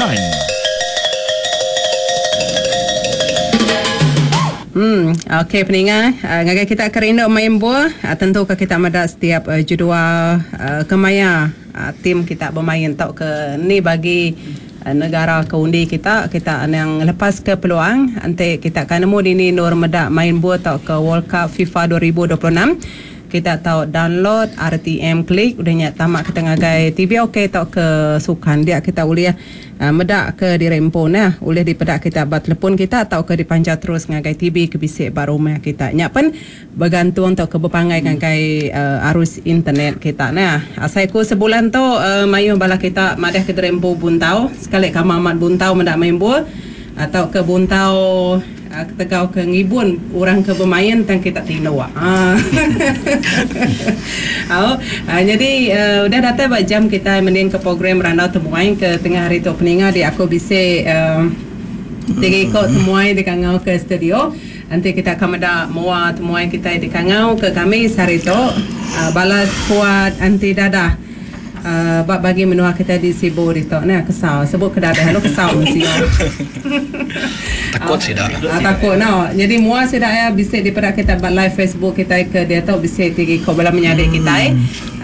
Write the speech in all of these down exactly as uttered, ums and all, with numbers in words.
Sukan. Hmm, okey peninga, uh, ngagai kita ke rindu main buah, uh, tentu ke kita meda setiap uh, jadual uh, kemaya uh, tim kita bermain tau ke ni bagi uh, negara ke undi kita, kita yang lepas ke peluang ante kita kan nemu dini nur meda main buah tau ke World Cup FIFA dua ribu dua puluh enam. Kita tahu download R T M klik udah nyak tamak kita ngagai T V okey tau ke sukan dia kita boleh uh, medak ke diri empu nah boleh dipedak kita ba telefon kita atau ke dipancar terus ngagai T V ke bisik ba rumah kita nyak pen bergantung tau ke berpangai ngagai uh, arus internet kita nah asai ku sebulan tu uh, mayu bala kita madah ke diri empu buntau sekali ka amat buntau medak main buah atau ke buntau uh, ketegau ke ngibun orang ke bermain tang kita tinduk. Ah. Oh, uh, jadi uh, udah datang ba jam kita mending ke program Randau Temuai ke tengah hari tu peninga di aku bisa uh, tiga ikut temuai di kangau ke studio. Nanti kita akan meda mua temuai kita di kangau ke kami sehari tu uh, balas kuat anti dadah. Uh, bab bagi menua kita di Sibu di tok nah kesal sebut ke dadah lu kesal mesti takut sih dah ah, takut no jadi mua sih dah ya bisa daripada kita buat live Facebook kita ke dia tok bisa tiga ikut bala menyadik hmm. kita eh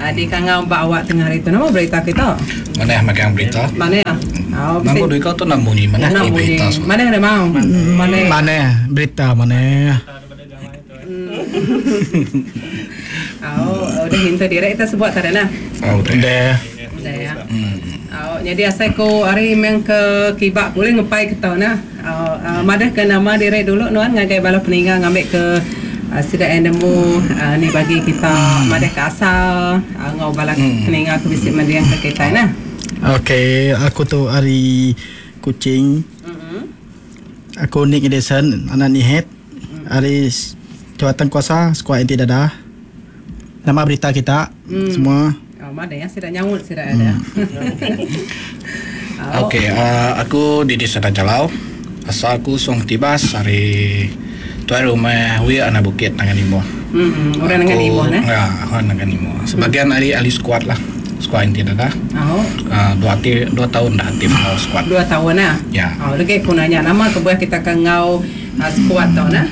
uh, di kangau bak awak tengah hari tu nama berita kita mana makan berita mana ya oh bisa nama duit tu nak bunyi mana ni berita mana ada mau mana mana berita mana. Oh, udah hinta direct kita sebut tadi nah. Oh, udah. Udah ya. Hmm. Oh, jadi asal ko hari memang ke kibak boleh ngepai ke tau nah. Oh, uh, madah ke nama direct dulu nuan ngagai bala peninggal ngambil ke uh, sidak nemu uh, ni bagi kita hmm. madah ke asal uh, ngau bala hmm. peninggal ke bisik mandiang ke kita nah. Okey, aku tu hari Kuching. Mm-hmm. Aku Nick Edison, anak Nihet. Hari jawatan kuasa skuad anti dadah. Nama berita kita hmm. semua. Oh, mana ya sudah nyaut sudah ada. Hmm. Okey, uh, aku di Desa Jalau. Asal aku Song Tibas hari tuan rumah wi anak bukit Nangan Imo. Hmm, orang Nangan Imo nah. Ya, orang Nangan Imo. Sebagian hmm. ahli ahli skuad lah. Skuad anti dadah. Oh. Uh, dua ti, dua tahun dah aktif ngau skuad. Dua tahun nah. Ya. Oh, lagi aku nanya nama kebuah kita ke ngau uh, skuad tau nah.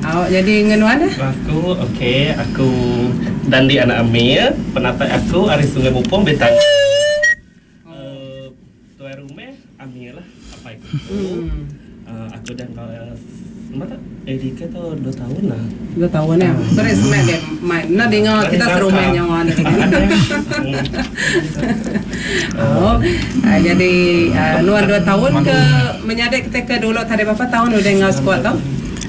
Oh, jadi ngenuan dah? Aku, okey, aku Dandi anak Amir, penatai aku ari Sungai Bupong Betang. Oh. Uh, tuan rumah Amir lah, apa aku. Hmm. Uh, aku dah kau uh, A D K tu dua tahun lah. Dua tahun ya. Beres semak dia. Mai, nak dengar kita serumah nyawa dia. Oh, uh, jadi uh, nuan dua tahun ke menyadik kita ke dulu tadi berapa tahun udah ngau squad tu?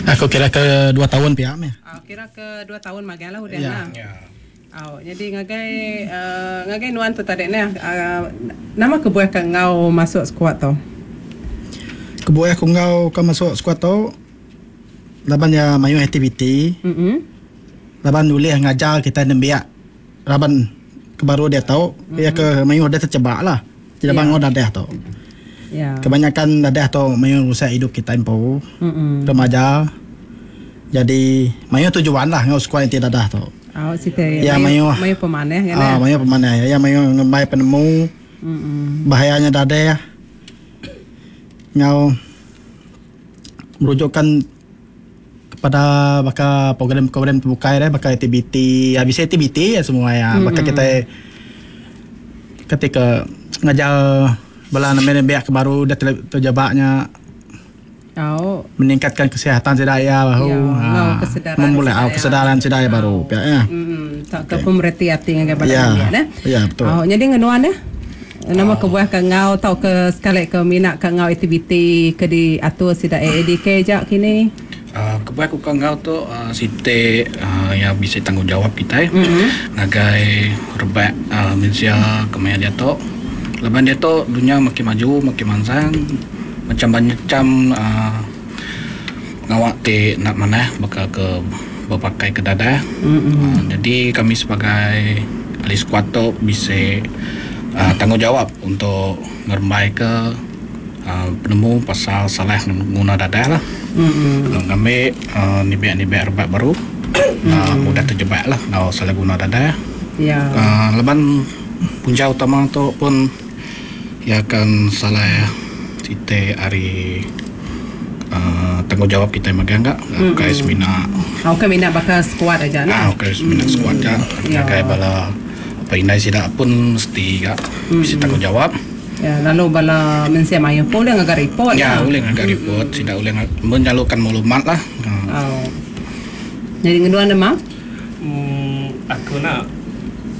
Aku kira ke dua tahun pihak ya. Oh, kira ke dua tahun magang lah udah ya. Nah. Ya. Oh, jadi ngagai uh, ngagai nuan tu tadi ni uh, nama kebuah ke ngau masuk squad tu? Kebuah aku ngau ke masuk squad tu laban ya mayu aktiviti. Mm-hmm. Laban boleh ngajar kita nembiak. Laban ke baru dia tahu, mm-hmm. ya ke mayu dia terjebak lah. Tidak ya. Bangun dadah tu. Ya. Kebanyakan dadah tu mayu rusak hidup kita empu. Mm-mm. Remaja. Jadi mayu tujuan lah ngau squad anti dadah tu. Oh, site. Ya mayu mayu pemaneh kan. Ah, mayu pemaneh. Ya mayu ngemai penemu. Mm-mm. Bahayanya dadah. Ngau merujukkan kepada bakal program-program terbuka ya, bakal aktiviti, habis aktiviti ya semua ya. Mm-mm. Bakal kita ketika ngajar bala nama biak baru dah terjebaknya. Oh. Meningkatkan kesihatan sedaya baru. Ya, ha, kesedaran memulai oh, kesedaran sedaya baru ya. Hmm, tak ke pemerhati hati dengan bala ya. dia nah. Ya, betul. Oh, jadi ngenuan dah. Nama oh. kebuah ke ngau tau ke sekali ke minat ke ngau aktiviti ke diatur sida A A D K jak kini. Uh, kebuah aku ke ngau tu uh, site uh, yang bisa tanggungjawab kita mm-hmm. ngagai rebak uh, manusia kemaya dia tu. Lepas dia tu dunia makin maju, makin mansang. Macam-macam uh, ngawak ti nak mana bakal ke berpakai ke dadah. Mm-hmm. Uh, jadi kami sebagai ahli skuad tu bisa uh, tanggungjawab untuk ngerembai ke uh, penemu pasal salah guna dadah lah. Mm-hmm. Ngambil uh, nibek-nibek rebak baru mm-hmm. uh, mudah terjebak lah kalau salah guna dadah. Ya. Uh, leban punca utama tu pun ya akan salah Siti ari uh, tanggungjawab kita magang enggak mm-hmm. Kai semina Okey minat bakal squad aja ah nah. okay, semina mm. squad ja. Ya. Ngagai bala apa indai sida pun mesti gak mm. bisi tanggungjawab. Ya, lalu bala mensia mayu pun boleh ngagai report. Ya, lah. boleh ngagai report, sida boleh menyalurkan maklumat lah. Ah. Oh. Jadi ngeduan demam? Hmm, aku nak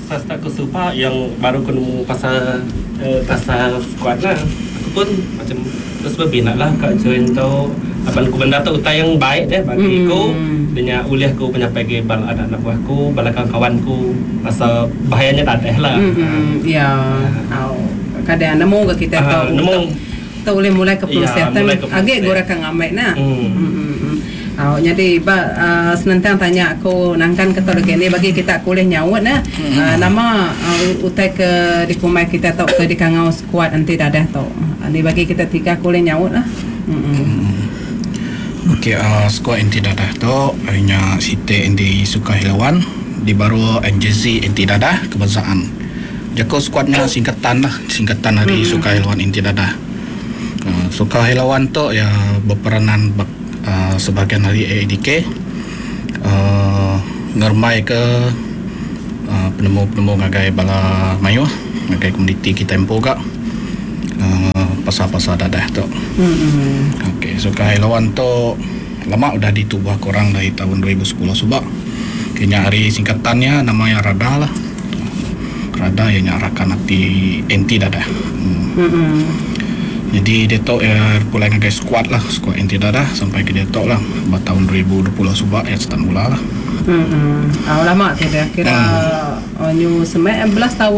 Sasta aku suka yang baru aku nemu pasal uh, pasal squad lah. Aku pun macam terus berminat lah kat join tu. Abang aku benda tu utai yang baik deh bagi aku. Hmm. Dengan ulih aku penyampai ke bala anak-anak buah aku, bala kawan-kawan ku. Rasa bahayanya tak ada lah. Hmm, ya. Oh. Kadang nemu ke kita Ah, tahu. nemu. Tu boleh mulai ke proses. Ya, mulai ke Agak proses. gora kang amai nah. Hmm. Hmm. hmm, hmm. Oh, jadi ba uh, senentang tanya aku nangkan ke lagi ni bagi kita kuliah nyaut nah. Hmm. Uh, nama uh, utai ke di kumai kita tau ke di kangau squad nanti dadah tau. Uh, ni bagi kita tiga kuliah nyaut lah. Hmm. hmm. Okey, uh, skuad anti dadah tu hanya Siti anti Sukahilawan di baru N J Z anti dadah kebangsaan. Jako skuadnya singkatan lah, singkatan dari hmm. Sukahilawan anti dadah. Uh, Sukahilawan tu ya berperanan bak, uh, sebahagian dari A A D K uh, ngermai ke uh, penemu-penemu ngagai bala mayuh ngagai komuniti kita empu gak uh, pasal-pasal dadah tu. Hmm. Okey, Sukahilawan tu lama udah ditubuh korang dari tahun dua ribu sepuluh subak. Kayaknya hari singkatannya namanya Rada lah. Rada yang rakan anti anti dadah. Hmm. Hmm. Jadi dia tu ya pulai ngagai squad lah, squad anti dadah sampai ke dia tu lah buat tahun dua ribu dua puluh subak ya start mula lah. Hmm. Oh, lama tu dah kira hmm. oh, new sembilan belas tahun